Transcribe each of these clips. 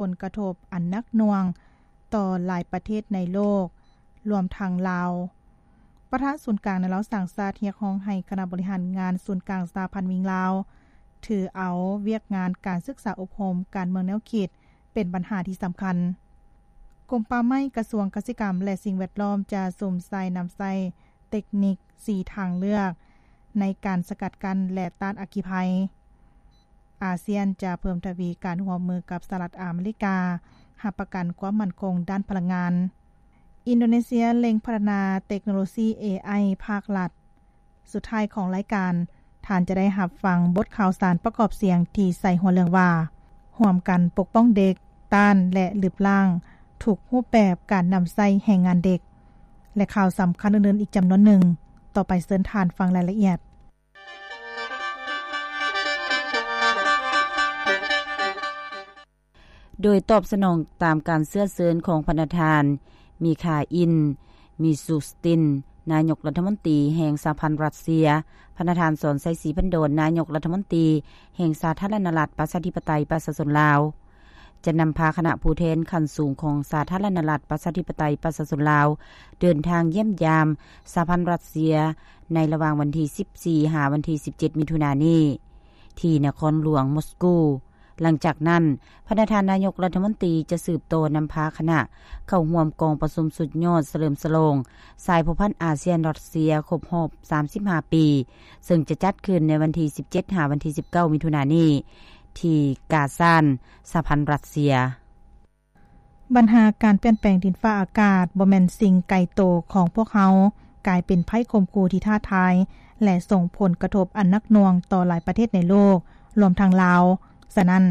ຜົນກະທົບອັນໜັກໜ່ວງຕໍ່ຫຼາຍປະເທດໃນໂລກ, ລວມທັງລາວ. ປະທານສູນກາງແນວລາວສ້າງຊາດ ຮຽກຮ້ອງໃຫ້ຄະນະບໍລິຫານງານສູນກາງສະຫະພັນແມ່ຍິງລາວ ຖືເອົາວຽກງານການສຶກສາອົບຮົມການເມືອງແນວຄິດ ເປັນບັນຫາທີ່ສຳຄັນ. ກົມປ່າໄມ້, ກະຊວງກະສິກຳ ແລະ ສິ່ງແວດລ້ອມ ຈະສຸມໃສ່ນຳໃຊ້ເຕັກນິກສີ່ທາງເລືອກໃນການສະກັດກັ້ນ ແລະ ຕ້ານອັກຄີໄພ. ອາຊຽນຈະເພີ່ມທະວີການຮ່ວມມືກັບສະຫະລັດອາເມລິກາ, ຮັບປະກັນຄວາມໝັ້ນຄົງດ້ານພະລັງງານ. ອິນໂດເນເຊຍເລັ່ງພັດທະນາເຕັກໂນໂລຊີເອໄອພາກລັດ. ສຸດທ້າຍຂອງລາຍການ, ທ່ານຈະໄດ້ຮັບຟັງບົດຂ່າວສານປະກອບສຽງທີ່ໃສ່ຫົວເລື່ອງວ່າ ຮ່ວມກັນປົກປ້ອງເດັກ, ຕ້ານ ແລະ ລຶບລ້າງທຸກຮູບແບບການນຳໃຊ້ແຮງງານເດັກ ແລະ ຂ່າວສຳຄັນອື່ນໆອີກຈຳນວນໜຶ່ງ. ຕໍ່ໄປເຊີນທ່ານຟັງລາຍລະອຽດ. ໂດຍຕອບສະໜອງຕາມການເຊື້ອເຊີນຂອງພະນະທ່ານ ມີຄາອິນ ມີຊູສຕິນ ນາຍົກລັດຖະມົນຕີແຫ່ງສະຫະພັນຣັດເຊຍ, ພະນະທ່ານ ສອນໄຊ ສີພັນດອນ ນາຍົກລັດຖະມົນຕີແຫ່ງສາທາລະນະລັດ ປະຊາທິປະໄຕ ປະຊາຊົນລາວ ຈະນຳພາຄະນະຜູ້ແທນຂັ້ນສູງຂອງສາທາລະນະລັດ ປະຊາທິປະໄຕ ປະຊາຊົນລາວ ເດີນທາງຢ້ຽມຢາມສະຫະພັນຣັດເຊຍ ໃນລະຫວ່າງວັນທີສິບສີ່ ຫາວັນທີສິບເຈັດ ມິຖຸນານີ້ ທີ່ນະຄອນຫຼວງມົສກູ. ຫຼັງຈາກນັ້ນ, ພະນະທ່ານນາຍົກລັດຖະມົນຕີຈະສືບຕໍ່ນຳພາຄະນະເຂົ້າຮ່ວມກອງປະຊຸມສຸດຍອດສະເຫຼີມສະຫຼອງສາຍພົວພັນອາຊຽນ-ຣັດເຊຍ ຄົບຮອບສາມສິບຫ້າປີ, ເຊິ່ງຈະຈັດຂຶ້ນໃນວັນທີສິບເຈັດ ຫາວັນທີສິບເກົ້າ ມິຖຸນານີ້ ທີ່ກາຊານ ສະຫະພັນຣັດເຊຍ. ບັນຫາການປ່ຽນແປງດິນຟ້າອາກາດບໍ່ແມ່ນສິ່ງໄກໂຕຂອງພວກເຮົາ, ກາຍເປັນໄພຂົ່ມຂູ່ທີ່ທ້າທາຍ ແລະ ສົ່ງຜົນກະທົບອັນໜັກໜ່ວງຕໍ່ຫຼາຍປະເທດໃນໂລກ, ລວມທັງລາວ. ສະນັ້ນ,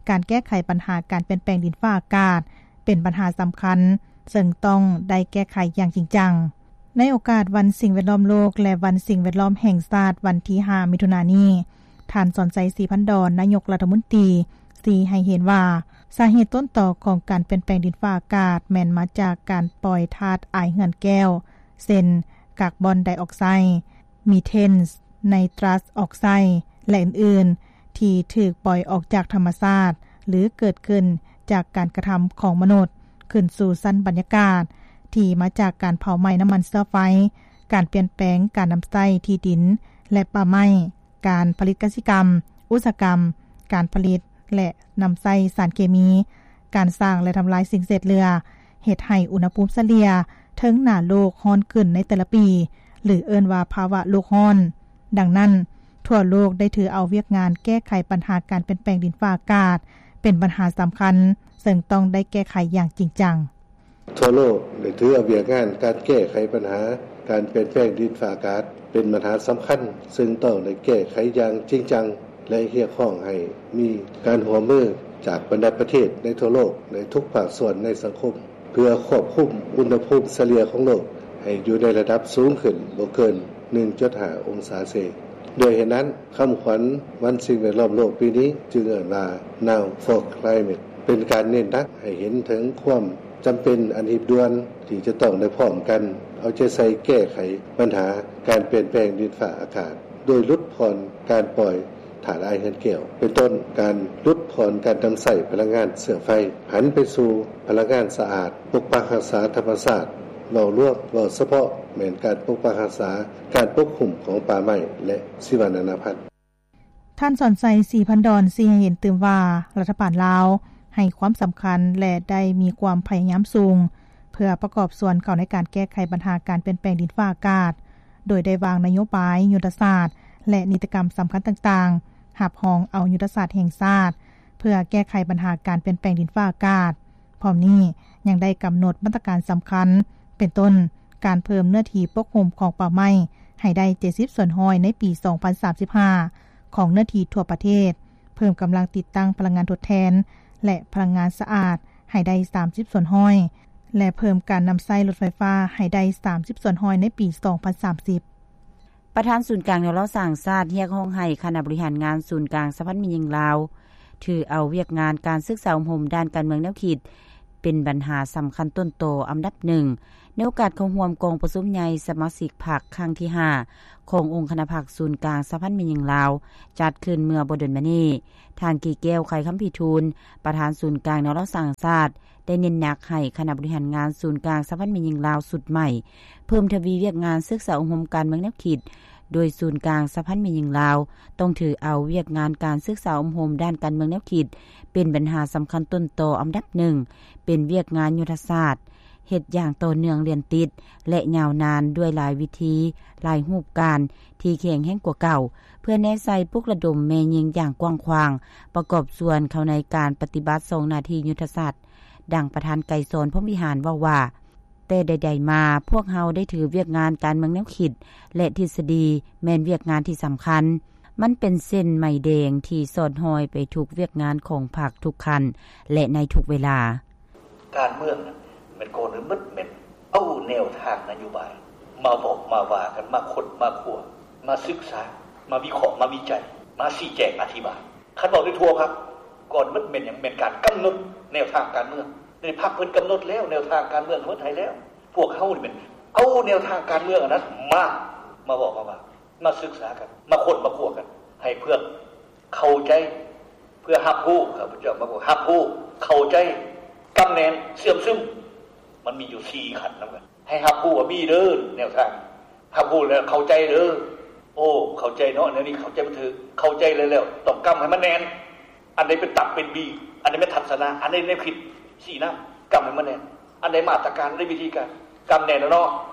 ການແກ້ໄຂບັນຫາການປ່ຽນແປງດິນຟ້າອາກາດ ເປັນບັນຫາສຳຄັນ, ເຊິ່ງຕ້ອງໄດ້ແກ້ໄຂຢ່າງຈິງຈັງ. ໃນໂອກາດວັນສິ່ງແວດລ້ອມໂລກ ແລະ ວັນສິ່ງແວດລ້ອມແຫ່ງຊາດ ວັນທີຫ້າ ມິຖຸນານີ້, ທ່ານ ສອນໄຊ ສີພັນດອນ ນາຍົກລັດຖະມົນຕີ ຊີ້ໃຫ້ເຫັນວ່າ ສາເຫດຕົ້ນຕໍຂອງການປ່ຽນແປງດິນຟ້າອາກາດ ແມ່ນມາຈາກການປ່ອຍທາດອາຍເຮືອນແກ້ວ ເຊັ່ນ ກາກບອນໄດອອກໄຊ, ມີເທນ, ໄນຕຣັສອອກໄຊ ແລະ ອື່ນໆ ທີ່ຖືກປ່ອຍອອກຈາກທຳມະຊາດ ຫຼື ເກີດຂຶ້ນຈາກການກະທຳຂອງມະນຸດ ຂຶ້ນສູ່ຊັ້ນບັນຍາກາດ ທີ່ມາຈາກການເຜົາໄໝ້ນ້ຳມັນເຊື້ອໄຟ, ການປ່ຽນແປງການນຳໃຊ້ທີ່ດິນ ແລະ ປ່າໄມ້, ການຜະລິດກະສິກຳ, ອຸດສາຫະກຳ, ການຜະລິດ ແລະ ນຳໃຊ້ສານເຄມີ, ການສ້າງ ແລະ ທຳລາຍສິ່ງເສດເຫຼືອ, ເຮັດໃຫ້ອຸນຫະພູມສະເລ່ຍເທິງໜ້າໂລກຮ້ອນຂຶ້ນໃນແຕ່ລະປີ ຫຼື ເອີ້ນວ່າພາວະໂລກຮ້ອນ. ດັ່ງນັ້ນ, ທົ່ວໂລກໄດ້ຖືເອົາວຽກງານແກ້ໄຂບັນຫາການປ່ຽນແປງດິນຟ້າອາກາດ ເປັນບັນຫາສຳຄັນ, ເຊິ່ງຕ້ອງໄດ້ແກ້ໄຂຢ່າງຈິງຈັງ. ທົ່ວໂລກໄດ້ຖືເອົາວຽກງານການແກ້ໄຂບັນຫາການປ່ຽນແປງດິນຟ້າອາກາດເປັນບັນຫາສຳຄັນ, ເຊິ່ງຕ້ອງໄດ້ແກ້ໄຂຢ່າງຈິງຈັງ ແລະ ຮຽກຮ້ອງໃຫ້ມີການຮ່ວມມືຈາກບັນດາປະເທດໃນທົ່ວໂລກ ໃນທຸກພາກສ່ວນໃນສັງຄົມ ເພື່ອຄວບຄຸມອຸນຫະພູມສະເລ່ຍຂອງໂລກໃຫ້ຢູ່ໃນລະດັບສູງຂຶ້ນບໍ່ເກີນ ໜຶ່ງຈຸດຫ້າ ອົງສາເຊ. ດ້ວຍເຫດນັ້ນ, ຄຳຂວັນວັນສິ່ງແວດລ້ອມໂລກປີນີ້ຈຶ່ງເອີ້ນວ່າ Now for Climate ເປັນການເນັ້ນໜັກໃຫ້ເຫັນເຖິງຄວາມຈຳເປັນອັນຮີບດ່ວນທີ່ຈະຕ້ອງໄດ້ພ້ອມກັນເອົາໃຈໃສ່ແກ້ໄຂບັນຫາການປ່ຽນແປງດິນຟ້າອາກາດ ໂດຍຫຼຸດຜ່ອນການປ່ອຍ ທາດອາຍເຮືອນແກ້ວ ເປັນຕົ້ນ ການຫຼຸດຜ່ອນການນຳໃຊ້ພະລັງງານເຊື້ອໄຟ, ຫັນໄປສູ່ພະລັງງານສະອາດ, ປົກປັກຮັກສາທຳມະຊາດ. ເວົ້າລວມ, ເວົ້າສະເພາະ ແມ່ນການປົກປັກຮັກສາ, ການປົກຄຸມຂອງປ່າໄມ້ ແລະ ຊີວະນານາພັນ. ທ່ານ ສອນໄຊ ສີພັນດອນ ຊີ້ໃຫ້ເຫັນຕື່ມວ່າ ລັດຖະບານລາວໃຫ້ຄວາມສຳຄັນ ແລະ ໄດ້ມີຄວາມພະຍາຍາມສູງ ເພື່ອປະກອບສ່ວນເຂົ້າໃນການແກ້ໄຂບັນຫາການປ່ຽນແປງດິນຟ້າອາກາດ, ໂດຍໄດ້ວາງນະໂຍບາຍ, ຍຸດທະສາດ ແລະ ນິຕິກຳສຳຄັນຕ່າງໆ, ຮັບຮອງເອົາຍຸດທະສາດແຫ່ງຊາດ ເພື່ອແກ້ໄຂບັນຫາການປ່ຽນແປງດິນຟ້າອາກາດ. ພ້ອມນີ້, ຍັງໄດ້ກຳນົດມາດຕະການສຳຄັນ, ເປັນຕົ້ນ, ການເພີ່ມເນື້ອທີ່ປົກຫຸ້ມຂອງປ່າໄມ້ໃຫ້ໄດ້ ເຈັດສິບສ່ວນຮ້ອຍ ໃນປີ ສອງພັນສາມສິບຫ້າ ຂອງເນື້ອທີ່ທົ່ວປະເທດ, ເພີ່ມກຳລັງຕິດຕັ້ງພະລັງງານທົດແທນ ແລະ ພະລັງງານສະອາດໃຫ້ໄດ້ ສາມສິບສ່ວນຮ້ອຍ ແລະ ເພີ່ມການນຳໃຊ້ລົດໄຟຟ້າໃຫ້ໄດ້ ສາມສິບສ່ວນຮ້ອຍ ໃນປີ ສອງພັນສາມສິບ. ປະທານສູນກາງແນວລາວສ້າງຊາດ ຮຽກຮ້ອງໃຫ້ຄະນະບໍລິຫານງານສູນກາງສະຫະພັນແມ່ຍິງລາວ ຖືເອົາວຽກງານການສຶກສາອົບຮົມດ້ານການເມືອງແນວຄິດ ເປັນບັນຫາສຳຄັນຕົ້ນຕໍອັນດັບໜຶ່ງ ໃນໂອກາດເຂົ້າຮ່ວມກອງປະຊຸມໃຫຍ່ສະມາຊິກພັກຄັ້ງທີຫ້າ ຂອງອົງຄະນະພັກສູນກາງສະຫະພັນແມ່ຍິງລາວ ຈັດຂຶ້ນເມື່ອບໍ່ດົນມານີ້, ທ່ານ ກີແກ້ວ ໄຂຄຳພິທູນ ປະທານສູນກາງແນວລາວສ້າງຊາດ ໄດ້ເນັ້ນໜັກໃຫ້ຄະນະບໍລິຫານງານສູນກາງສະຫະພັນແມ່ຍິງລາວຊຸດໃໝ່ ເພີ່ມທະວີວຽກງານສຶກສາອົບຮົມການເມືອງແນວຄິດ, ໂດຍສູນກາງສະຫະພັນແມ່ຍິງລາວ ຕ້ອງຖືເອົາວຽກງານການສຶກສາອົບຮົມດ້ານການເມືອງແນວຄິດ ເປັນບັນຫາສຳຄັນຕົ້ນຕໍອັນດັບໜຶ່ງ, ເປັນວຽກງານຍຸດທະສາດ, ເຮັດຢ່າງຕໍ່ເນື່ອງລຽນຕິດ ແລະ ຍາວນານດ້ວຍຫຼາຍວິທີ, ຫຼາຍຮູບການທີ່ແຂງແຮງກວ່າເກົ່າ, ເພື່ອແນໃສ່ປຸກລະດົມແມ່ຍິງຢ່າງກວ້າງຂວາງ ປະກອບສ່ວນເຂົ້າໃນການປະຕິບັດສອງໜ້າທີ່ຍຸດທະສາດ. ດັ່ງປະທານ ໄກສອນ ພົມວິຫານ ເວົ້າວ່າ, ແຕ່ໃດໆມາ, ພວກເຮົາໄດ້ຖືວຽກງານການເມືອງແນວຄິດ ແລະ ທິດສະດີ ແມ່ນວຽກງານທີ່ສຳຄັນ. ມັນເປັນເສັ້ນໄມແດງທີ່ສອດຫ້ອຍໄປທຸກວຽກງານຂອງພັກທຸກຂັ້ນ ແລະ ໃນທຸກເວລາ. ການເມືອງນັ້ນແມ່ນກ່ອນອື່ນໝົດແມ່ນເອົາແນວທາງນະໂຍບາຍມາເວົ້າມາວ່າກັນ, ມາຄົ້ນມາຄວ້າ, ມາສຶກສາ, ມາວິເຄາະ, ມາວິໄຈ, ມາຊີ້ແຈງອະທິບາຍ. ຄັນເວົ້າໂດຍທົ່ວພັກ, ກ່ອນໝົດແມ່ນຫຍັງ? ແມ່ນການກຳນົດແນວທາງການເມືອງ. ໃນພັກເພິ່ນກຳນົດແລ້ວ, ແນວທາງການເມືອງເພິ່ນໃຫ້ແລ້ວ. ພວກເຮົານີ້ແມ່ນເອົາແນວທາງການເມືອງອັນນັ້ນມາ, ມາເວົ້າມາວ່າ, ມາສຶກສາກັນ, ມາຄົ້ນມາຄວ້າກັນ, ໃຫ້ເພື່ອເຂົ້າໃຈ, ເພື່ອຮັບຮູ້, ຂ້າພະເຈົ້າມາບອກ, ຮັບຮູ້, ເຂົ້າໃຈ, ກຳແໜ້ນ, ເຊື່ອມຊຶມ. ມັນມີຢູ່ສີ່ຂັ້ນນຳກັນ. ໃຫ້ຮັບຮູ້ວ່າມີເດີແນວທາງ, ຮັບຮູ້ແລ້ວເຂົ້າໃຈເດີ. ໂອ້ ເຂົ້າໃຈເນາະ, ແນວນີ້ເຂົ້າໃຈບໍ່ຖືກ, ເຂົ້າໃຈແລ້ວ, ແລ້ວຕ້ອງກຳໃຫ້ມັນແໜ້ນ. ອັນໃດເປັນຕັບເປັນບີ, ອັນໃດແມ່ນທັດສະນະ, ອັນໃດແນວຄິດຊີ້ນຳ, ກຳໃຫ້ມັນແໜ້ນ. ອັນໃດມາດຕະການ, ໃນວິທີການ, ກຳແໜ້ນແລ້ວເນາະ,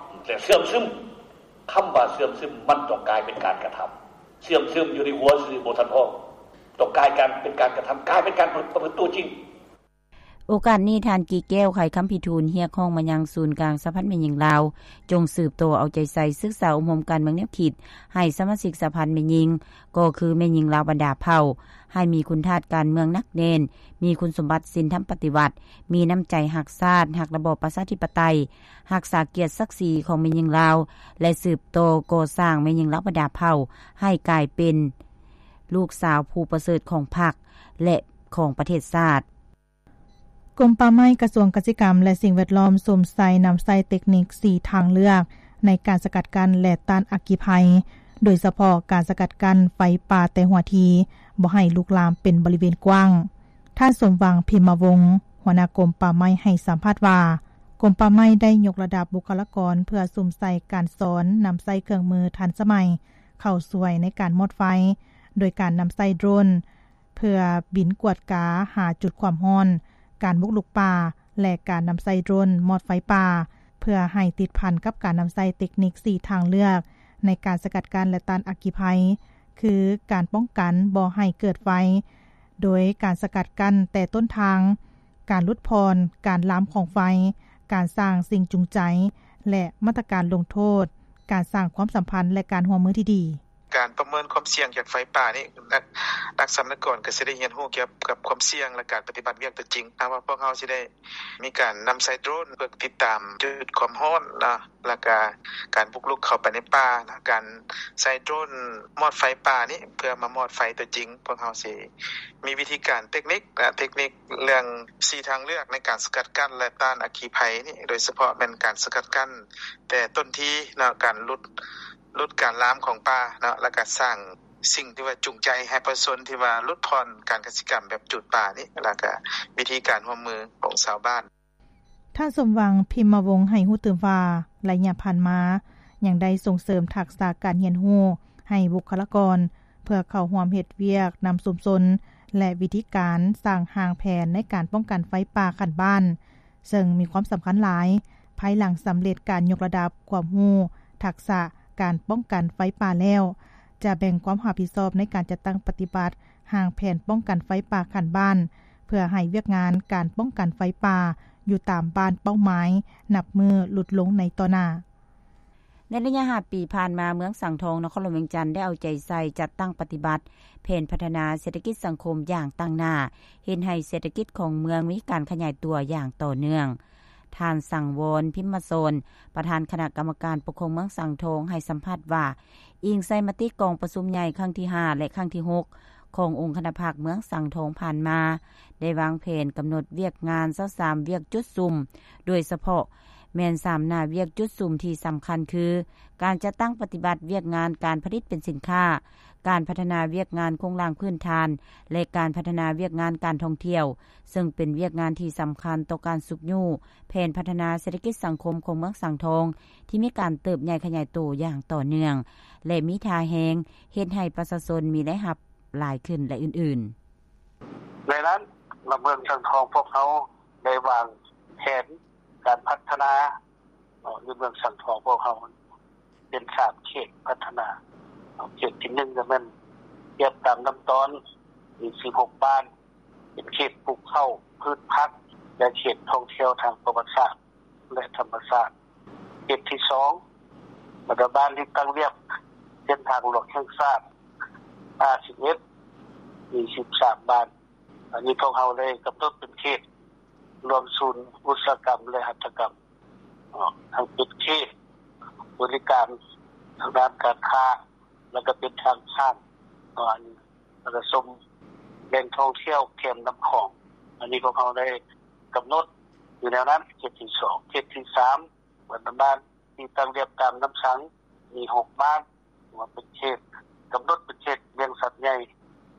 ແຕ່ເຊື່ອມຊຶມ. ຄຳວ່າເຊື່ອມຊຶມ ມັນຕ້ອງກາຍເປັນການກະທຳ. ເຊື່ອມຊຶມຢູ່ໃນຫົວຊື່ບໍ່ທັນພໍ, ຕ້ອງກາຍການເປັນການກະທຳ, ກາຍເປັນການປະພຶດຕົວຈິງ. ໂອກາດນີ້, ທ່ານ ກີແກ້ວ ໄຂຄຳພິທູນ ຮຽກຮ້ອງມາຍັງສູນກາງສະຫະພັນແມ່ຍິງລາວ ຈົ່ງສືບຕໍ່ເອົາໃຈໃສ່ສຶກສາອົບຮົມການເມືອງແນວຄິດ ໃຫ້ສະມາຊິກສະຫະພັນແມ່ຍິງ, ກໍຄືແມ່ຍິງລາວບັນດາເຜົ່າ, ໃຫ້ມີຄຸນທາດການເມືອງໜັກແໜ້ນ, ມີຄຸນສົມບັດສິນທຳປະຕິວັດ, ມີນ້ຳໃຈຮັກຊາດ, ຮັກລະບອບປະຊາທິປະໄຕ, ຮັກສາກຽດສັກສີຂອງແມ່ຍິງລາວ ແລະ ສືບຕໍ່ກໍ່ສ້າງແມ່ຍິງລາວບັນດາເຜົ່າ ໃຫ້ກາຍເປັນລູກສາວຜູ້ປະເສີດຂອງພັກ ແລະ ຂອງປະເທດຊາດ. ກົມປ່າໄມ້, ກະຊວງກະສິກຳ ແລະ ສິ່ງແວດລ້ອມ ສຸມໃສ່ນຳໃຊ້ເຕັກນິກສີ່ທາງເລືອກໃນການສະກັດກັ້ນ ແລະ ຕ້ານອັກຄີໄພ, ໂດຍສະເພາະການສະກັດກັ້ນໄຟປ່າແຕ່ຫົວທີ ບໍ່ໃຫ້ລຸກລາມເປັນບໍລິເວນກວ້າງ. ທ່ານ ສົມຫວັງ ພິມມະວົງ ຫົວໜ້າກົມປ່າໄມ້ ໃຫ້ສຳພາດວ່າ, ກົມປ່າໄມ້ໄດ້ຍົກລະດັບບຸກຄະລາກອນ ເພື່ອສຸມໃສ່ການສອນນຳໃຊ້ເຄື່ອງມືທັນສະໄໝເຂົ້າຊ່ວຍໃນການມອດໄຟ, ໂດຍການນຳໃຊ້ໂດຣນ ເພື່ອບິນກວດກາຫາຈຸດຄວາມຮ້ອນ, ການບຸກລຸກປ່າ ແລະ ການນຳໃຊ້ໂດຣນມອດໄຟປ່າ ເພື່ອໃຫ້ຕິດພັນກັບການນຳໃຊ້ເຕັກນິກສີ່ທາງເລືອກໃນການສະກັດກັ້ນ ແລະ ຕ້ານອັກຄີໄພ, ຄື ການປ້ອງກັນບໍ່ໃຫ້ເກີດໄຟ ໂດຍການສະກັດກັ້ນແຕ່ຕົ້ນທາງ, ການຫຼຸດຜ່ອນການລາມຂອງໄຟ, ການສ້າງສິ່ງຈູງໃຈ ແລະ ມາດຕະການລົງໂທດ, ການສ້າງຄວາມສຳພັນ ແລະ ການຮ່ວມມືທີ່ດີ. ການປະເມີນຄວາມສ່ຽງຈາກໄຟປ່ານີ້ ນັກ ນັກສຳນະກອນກໍຊິໄດ້ຮຽນຮູ້ກ່ຽວກັບຄວາມສ່ຽງ ແລະ ການປະຕິບັດວຽກຕົວຈິງ. ຖ້າວ່າພວກເຮົາຊິໄດ້ມີການນຳໃຊ້ໂດຣນເພື່ອຕິດຕາມຈຸດຄວາມຮ້ອນເນາະ, ແລ້ວກະການບຸກລຸກເຂົ້າໄປໃນປ່າ, ແລ້ວການໃຊ້ໂດຣນມອດໄຟປ່ານີ້ເພື່ອມາມອດໄຟຕົວຈິງ, ພວກເຮົາຊິມີວິທີການເຕັກນິກນະ, ເຕັກນິກເລື່ອງສີ່ທາງເລືອກໃນການສະກັດກັ້ນ ແລະ ຕ້ານອັກຄີໄພນີ້, ໂດຍສະເພາະແມ່ນການສະກັດກັ້ນແຕ່ຕົ້ນທີເນາະ, ການຫຼຸດ ຫຼຸດການລາມຂອງປ່າເນາະ ແລ້ວກະສ້າງສິ່ງທີ່ວ່າຈູງໃຈໃຫ້ປະຊາຊົນທີ່ວ່າຫຼຸດຜ່ອນການກະສິກຳແບບຈູດປ່ານີ້ ແລ້ວກະວິທີການຮ່ວມມືຂອງຊາວບ້ານ. ທ່ານ ສົມຫວັງ ພິມມະວົງ ໃຫ້ຮູ້ຕື່ມວ່າ ໄລຍະຜ່ານມາ ຍັງໄດ້ສົ່ງເສີມທັກສະການຮຽນຮູ້ໃຫ້ບຸກຄະລາກອນ ເພື່ອເຂົ້າຮ່ວມເຮັດວຽກນຳຊຸມຊົນ ແລະ ວິທີການສ້າງຮ່າງແຜນໃນການປ້ອງກັນໄຟປ່າຂັ້ນບ້ານ ເຊິ່ງມີຄວາມສຳຄັນຫຼາຍ. ພາຍຫຼັງສຳເລັດການຍົກລະດັບຄວາມຮູ້ທັກສະການປ້ອງກັນໄຟປ່າແລ້ວ, ຈະແບ່ງຄວາມຮັບຜິດຊອບໃນການຈັດຕັ້ງປະຕິບັດຮ່າງແຜນປ້ອງກັນໄຟປ່າຂັ້ນບ້ານ, ເພື່ອໃຫ້ວຽກງານການປ້ອງກັນໄຟປ່າຢູ່ຕາມບ້ານເປົ້າໝາຍນັບມື້ຫຼຸດລົງໃນຕໍ່ໜ້າ. ໃນໄລຍະຫ້າປີຜ່ານມາ, ເມືອງສັງທອງ ນະຄອນຫຼວງວຽງຈັນ ໄດ້ເອົາໃຈໃສ່ຈັດຕັ້ງປະຕິບັດແຜນພັດທະນາເສດຖະກິດສັງຄົມຢ່າງຕັ້ງໜ້າ, ເຮັດໃຫ້ເສດຖະກິດຂອງເມືອງມີການຂະຫຍາຍຕົວຢ່າງຕໍ່ເນື່ອງ. ທ່ານ ສັງວອນ ພິມມະສອນ ປະທານຄະນະກຳມະການປົກຄອງເມືອງສັງທອງ ໃຫ້ສຳພາດວ່າ, ອີງໃສ່ມະຕິກອງປະຊຸມໃຫຍ່ຄັ້ງທີຫ້າ ແລະ ຄັ້ງທີຫົກ ຂອງອົງຄະນະພັກເມືອງສັງທອງຜ່ານມາ, ໄດ້ວາງແຜນກຳນົດວຽກງານຊາວສາມວຽກຈຸດສຸມ, ໂດຍສະເພາະ ແມ່ນສາມໜ້າວຽກຈຸດສຸມທີ່ສຳຄັນຄື ການຈັດຕັ້ງປະຕິບັດວຽກງານການຜະລິດເປັນສິນຄ້າ, ການພັດທະນາວຽກງານໂຄງລ່າງພື້ນຖານ ແລະ ການພັດທະນາວຽກງານການທ່ອງທ່ຽວ, ເຊິ່ງເປັນວຽກງານທີ່ສຳຄັນຕໍ່ການຊຸກຍູ້ແຜນພັດທະນາເສດຖະກິດສັງຄົມຂອງເມືອງສັງທອງ ທີ່ມີການເຕີບໃຫຍ່ຂະຫຍາຍໂຕຢ່າງຕໍ່ເນື່ອງ ແລະ ມີທ່າແຮງເຮັດໃຫ້ປະຊາຊົນມີລາຍຮັບຫຼາຍຂຶ້ນ ແລະ ອື່ນໆ. ໃນນັ້ນ ລະເມືອງສັງທອງພວກເຮົາໄດ້ວາງແຜນການພັດທະນາ ເນາະ ໃນເມືອງສັງທອງພວກເຮົາເປັນສາມເຂດພັດທະນາ. ເຂດທີໜຶ່ງກໍແມ່ນລຽບຕາມລຳຕອນ ມີສິບຫົກບ້ານ ເປັນເຂດປູກເຂົ້າ ພືດຜັກ ແລະ ເຂດທ່ອງທ່ຽວທາງປະຫວັດສາດ ແລະ ທຳມະຊາດ. ເຂດທີສອງ ບັນດາບ້ານທີ່ຕັ້ງລຽບເສັ້ນທາງຫຼວງແຫ່ງຊາດ ຫ້າສິບເອັດ ມີສິບສາມບ້ານ. ອັນນີ້ພວກເຮົາໄດ້ກຳນົດເປັນເຂດລວມສູນອຸດສາຫະກຳ ແລະ ຫັດຖະກຳ ເນາະ ທັງເປັນເຂດບໍລິການທາງດ້ານການຄ້າ ແລ້ວກໍເປັນທາງຜ່ານ ເນາະ ອັນ ແລ້ວກໍຊົມແຫຼ່ງທ່ອງທ່ຽວແຄມນ້ຳຂອງ. ອັນນີ້ພວກເຮົາໄດ້ກຳນົດຢູ່ແນວນັ້ນ ເຂດທີສອງ. ເຂດທີສາມ ບັນດາບ້ານທີ່ຕັ້ງລຽບຕາມນ້ຳສັງ ມີຫົກບ້ານ ວ່າເປັນເຂດ ກຳນົດເປັນເຂດລ້ຽງສັດໃຫຍ່,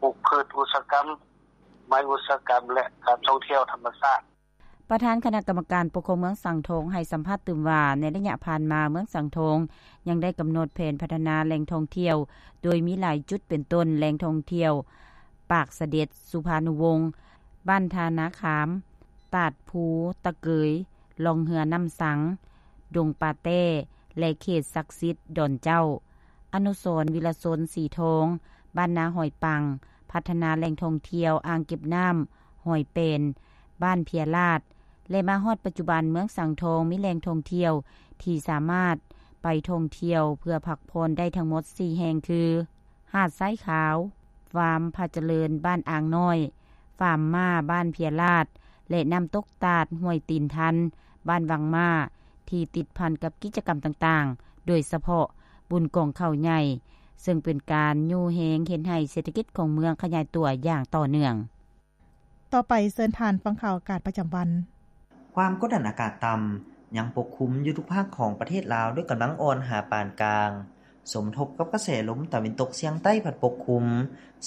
ປູກພືດອຸດສາຫະກຳ, ໄມ້ອຸດສາຫະກຳ ແລະ ການທ່ອງທ່ຽວທຳມະຊາດ. ປະທານຄະນະກຳມະການປົກຄອງເມືອງສັງທອງໃຫ້ສຳພາດຕື່ມວ່າ ໃນໄລຍະຜ່ານມາ ເມືອງສັງທອງຍັງໄດ້ກຳນົດແຜນພັດທະນາແຫຼ່ງທ່ອງທ່ຽວ ໂດຍມີຫຼາຍຈຸດ ເປັນຕົ້ນ ແຫຼ່ງທ່ອງທ່ຽວປາກສະເດັດ, ສຸພານຸວົງ, ບ້ານທ່ານາຂາມ, ຕາດພູຕະເກີຍ, ລ່ອງເຮືອນ້ຳສັງ, ດົງປາແຕ້ ແລະ ເຂດສັກສິດດອນເຈົ້າ. ອະນຸສອນ ວິລະຊົນ ສີທອງ, ບ້ານນາຫອຍປັງ, ພັດທະນາແຫຼ່ງທ່ອງທ່ຽວ ອ່າງເກັບນ້ຳຫອຍແປນ, ບ້ານເພຍລາດ ແລະ ມາຮອດປັດຈຸບັນ ເມືອງສັງທອງມີແຫຼ່ງທ່ອງທ່ຽວທີ່ສາມາດໄປທ່ອງທ່ຽວເພື່ອພັກຜ່ອນໄດ້ທັງໝົດສີ່ແຫ່ງຄື ຫາດຊາຍຂາວ, ຟາມພະຈະເລີນບ້ານອ່າງນ້ອຍ, ຟາມມ້າບ້ານເພຍລາດ ແລະ ນ້ຳຕົກຕາດຫ້ວຍຕີນທັນ ບ້ານວັງມ້າ ທີ່ຕິດພັນກັບກິດຈະກຳຕ່າງໆ ໂດຍສະເພາະບຸນກອງເຂົ້າໃຫຍ່ ເຊິ່ງເປັນການຍູ້ແຮງເຮັດໃຫ້ເສດຖະກິດຂອງເມືອງຂະຫຍາຍຕົວຢ່າງຕໍ່ເນື່ອງ. ຕໍ່ໄປເຊີນທ່ານຟັງຂ່າວອາກາດປະຈຳວັນ. ຄວາມກົດດັນອາກາດຕ່ຳຍັງປົກຄຸມຢູ່ທຸກພາກຂອງປະເທດລາວ ດ້ວຍກຳລັງອ່ອນຫາປານກາງ ສົມທົບກັບກະແສລົມຕາເວັນຕົກສຽງໃຕ້ພັດປົກຄຸມ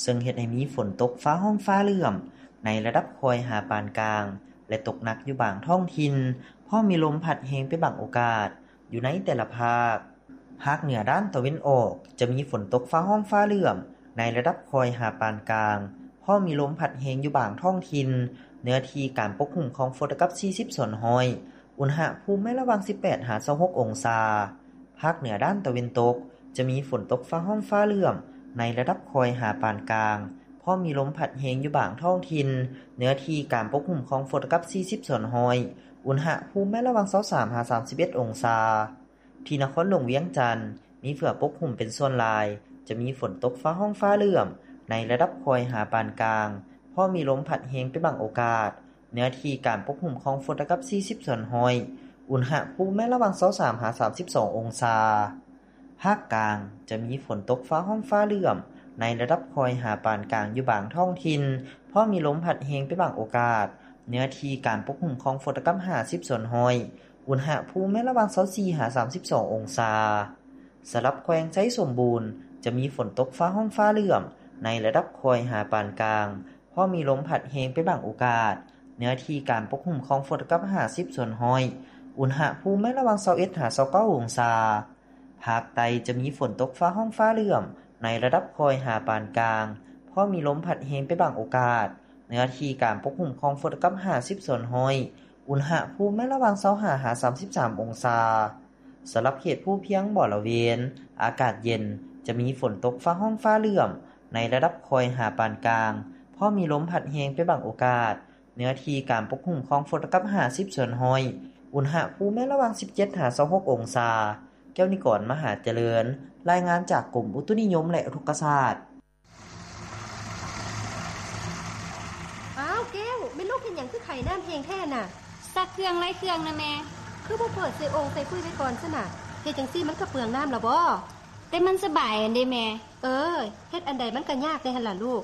ເຊິ່ງເຮັດໃຫ້ມີຝົນຕົກຟ້າຮ້ອງຟ້າເຫຼື້ອມໃນລະດັບຄ່ອຍຫາປານກາງ ແລະ ຕົກໜັກຢູ່ບາງທ້ອງຖິ່ນ, ພ້ອມມີລົມພັດແຮງເປັນບາງໂອກາດ ຢູ່ໃນແຕ່ລະພາກ. ພາກເໜືອດ້ານຕາເວັນອອກ ຈະມີຝົນຕົກຟ້າຮ້ອງຟ້າເຫຼື້ອມໃນລະດັບຄ່ອຍຫາປານກາງ, ພ້ອມມີລົມພັດແຮງຢູ່ບາງທ້ອງຖິ່ນ, ເນື້ອທີ່ການປົກຄຸມຂອງຝົນເທົ່າກັບສີ່ສິບສ່ວນຮ້ອຍ, ອຸນຫະພູມແມ່ນລະຫວ່າງສິບແປດຫາຊາວຫົກອົງສາ. ພາກເໜືອດ້ານຕາເວັນຕົກ ຈະມີຝົນຕົກຟ້າຮ້ອງຟ້າເຫຼື້ອມໃນລະດັບຄ່ອຍຫາປານກາງ, ພ້ອມມີລົມພັດແຮງຢູ່ບາງທ້ອງຖິ່ນ, ເນື້ອທີ່ການປົກຄຸມຂອງຝົນເທົ່າກັບສີ່ສິບສ່ວນຮ້ອຍ, ອຸນຫະພູມແມ່ນລະຫວ່າງຊາວສາມຫາສາມສິບເອັດອົງສາ. ທີ່ນະຄອນຫຼວງວຽງຈັນ ມີເຝືອປົກຫຸ້ມເປັນສ່ວນຫຼາຍ, ຈະມີຝົນຕົກຟ້າຮ້ອງຟ້າເຫຼື້ອມໃນລະດັບຄ່ອຍຫາປານກາງ, ພໍມີລົມພັດແຮງເປັນບາງໂອກາດ, ເນື້ອທີ່ການປົກຫຸ້ມຂອງຝົນເທົ່າກັບສີ່ສິບສ່ວນຮ້ອຍ, ອຸນຫະພູມແມ່ນລະຫວ່າງຊາວສາມຫາສາມສິບສອງອົງສາ. ພາກກາງ ຈະມີຝົນຕົກຟ້າຮ້ອງຟ້າເຫຼື້ອມໃນລະດັບຄ່ອຍຫາປານກາງຢູ່ບາງທ້ອງຖິ່ນ, ພໍມີລົມພັດແຮງເປັນບາງໂອກາດ, ເນື້ອທີ່ການປົກຫຸ້ມຂອງຝົນເທົ່າກັບຫ້າສິບສ່ວນຮ້ອຍ, ອຸນຫະພູມແມ່ນລະຫວ່າງຊາວສີ່ຫາສາມສິບສອງອົງສາ. ສຳລັບແຂວງໄຊສົມບູນ ຈະມີຝົນຕົກຟ້າຮ້ອງຟ້າເຫຼື້ອມໃນລະດັບຄ່ອຍຫາປານກາງ, ພໍມີລົມພັດແຮງເປັນບາງໂອກາດ, ເນື້ອທີ່ການປົກຫຸ້ມຂອງຝົນເທົ່າກັບຫ້າສິບສ່ວນຮ້ອຍ, ອຸນຫະພູມແມ່ນລະຫວ່າງຊາວເອັດຫາຊາວເກົ້າອົງສາ. ພາກໃຕ້ຈະມີຝົນຕົກຟ້າຮ້ອງຟ້າເຫຼື້ອມໃນລະດັບຄ່ອຍຫາປານກາງ, ພໍມີລົມພັດແຮງເປັນບາງໂອກາດ, ເນື້ອທີ່ການປົກຫຸ້ມຂອງຝົນເທົ່າກັບຫ້າສິບສ່ວນຮ້ອຍ, ອຸນຫະພູມແມ່ນລະຫວ່າງຊາວຫ້າຫາສາມສິບສາມອົງສາ. ສຳລັບເຂດພູພຽງບໍລະເວນ ອາກາດເຢັນ, ຈະມີຝົນຕົກຟ້າຮ້ອງຟ້າເຫຼື້ອມໃນລະດັບຄ່ອຍຫາປານກາງ, ພໍມີລົມພັດແຮງເປັນບາງໂອກາດ, ເນື້ອທີ່ການປົກຫຸ້ມຂອງຝົນເທົ່າກັບຫ້າສິບສ່ວນຮ້ອຍ, ອຸນຫະພູມແມ່ນລະຫວ່າງສິບເຈັດຫາຊາວຫົກອົງສາ. ແກ້ວນິກອນ ມະຫາຈະເລີນ, ລາຍງານຈາກກົມອຸຕຸນິຍົມ ແລະ ອຸທົກກະສາດ. ອ້າວ ແກ້ວ, ແມ່ລູກເຮັດຫຍັງຄືໄຂນ້ຳແຮງແທ້ນະ? ຊັກເຄື່ອງໄລ່ເຄື່ອງນະແມ່. ຄືບໍ່ເປີດໃສ່ໂອ່ງໃສ່ຟືນໄວ້ກ່ອນຊັ້ນນະ? ເຮັດຈັ່ງຊີ້ມັນກໍເປືອງນ້ຳລະບໍ? ແຕ່ມັນສະບາຍຫັ້ນເດແມ່. ເອີ, ເຮັດອັນໃດມັນກໍຍາກແດ່ຫັ້ນລະລູກ.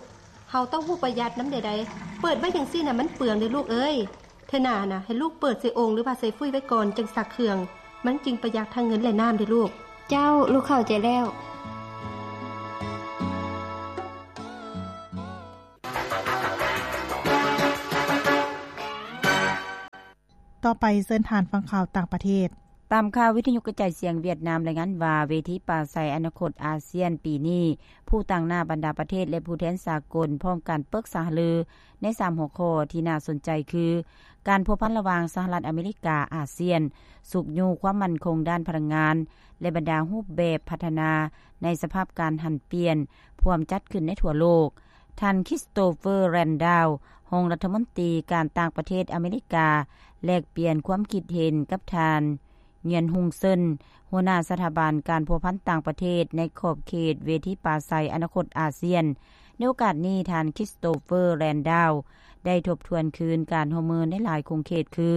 ເຮົາຕ້ອງຮູ້ປະຢັດນຳແດ່ໃດ໋. ເປີດໄວ້ຈັ່ງຊີ້ນະ ມັນເປືອງເດ້ລູກເອີຍ. ເ ເທື່ອໜ້ານະ ໃຫ້ລູກເປີດໃສ່ໂອ່ງ ຫຼືວ່າໃສ່ຟຸ້ຍໄວ້ກ່ອນ ຈຶ່ງຊັກເຄື່ອງ. ມັນຈຶ່ງປະຢັດທັງເງິນ ແລະ ນ້ຳເດ້ລູກ. ເຈົ້າ, ລູກເຂົ້າໃຈແລ້ວ. ຕໍ່ໄປເຊີນທ່ານຟັງຂ່າວຕ່າງປະເທດ. ຕາມຂ່າວວິທະຍຸກະຈາຍສຽງຫວຽດນາມລາຍງານວ່າ ເວທີປາໄສອະນາຄົດອາຊຽນປີນີ້ ຜູ້ຕາງໜ້າບັນດາປະເທດ ແລະ ຜູ້ແທນສາກົນ ພ້ອມກັນປຶກສາຫາລືໃນສາມຫົວຂໍ້ທີ່ໜ້າສົນໃຈຄື ການພົວພັນລະຫວ່າງສະຫະລັດອາເມລິກາ-ອາຊຽນ, ຊຸກຍູ້ຄວາມໝັ້ນຄົງດ້ານພະລັງງານ ແລະ ບັນດາຮູບແບບພັດທະນາໃນສະພາບການຫັນປ່ຽນ ພວມຈັດຂຶ້ນໃນທົ່ວໂລກ. ທ່ານ Christopher Landau ຮອງລັດຖະມົນຕີການຕ່າງປະເທດອາເມລິກາ ແລກປ່ຽນຄວາມຄິດເຫັນກັບທ່ານ Nguyen Hung Sen ຫົວໜ້າສະຖາບັນການພົວພັນຕ່າງປະເທດໃນຂອບເຂດເວທີປາໄສອະນາຄົດອາຊຽນ. ໃນໂອກາດນີ້, ທ່ານ Christopher Landau ໄດ້ທົບທວນຄືນການຮ່ວມມືໃນຫຼາຍຂົງເຂດຄື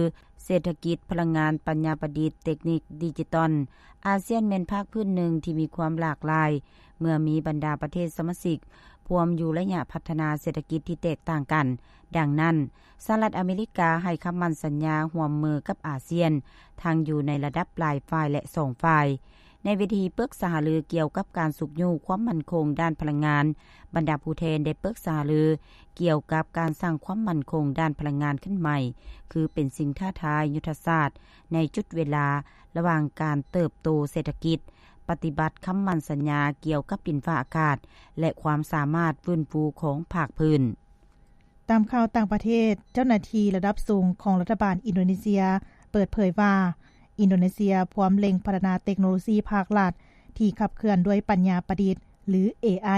ເສດຖະກິດ, ພະລັງງານ, ປັນຍາປະດິດ, ເຕັກນິກ, ດິຈິຕອນ. ອາຊຽນແມ່ນພາກພື້ນໜຶ່ງທີ່ມີຄວາມຫຼາກຫຼາຍ ເມື່ອມີບັນດາປະເທດສະມາຊິກພວມຢູ່ໄລຍະພັດທະນາເສດຖະກິດທີ່ແຕກຕ່າງກັນ. ດັ່ງນັ້ນ, ສະຫະລັດອາເມລິກາໃຫ້ຄຳໝັ້ນສັນຍາຮ່ວມມືກັບອາຊຽນ ທັງຢູ່ໃນລະດັບຫຼາຍຝ່າຍ ແລະ ສອງຝ່າຍ. ໃນເວທີປຶກສາຫາລືກ່ຽວກັບການຊຸກຍູ້ຄວາມໝັ້ນຄົງດ້ານພະລັງງານ, ບັນດາຜູ້ແທນໄດ້ປຶກສາຫາລືກ່ຽວກັບການສ້າງຄວາມໝັ້ນຄົງດ້ານພະລັງງານຂຶ້ນໃໝ່ ຄືເປັນສິ່ງທ້າທາຍຍຸດທະສາດໃນຈຸດເວລາລະຫວ່າງການເຕີບໂຕເສດຖະກິດ, ປະຕິບັດຄຳໝັ້ນສັນຍາກ່ຽວກັບດິນຟ້າອາກາດ ແລະ ຄວາມສາມາດຟື້ນຟູຂອງພາກພື້ນ. ຕາມຂ່າວຕ່າງປະເທດ, ເຈົ້າໜ້າທີ່ລະດັບສູງຂອງລັດຖະບານອິນໂດເນເຊຍເປີດເຜີຍວ່າ ອິນໂດເນເຊຍພວມເລັ່ງພັດທະນາເຕັກໂນໂລຊີພາກລັດທີ່ຂັບເຄື່ອນດ້ວຍປັນຍາປະດິດ ຫຼື ເອໄອ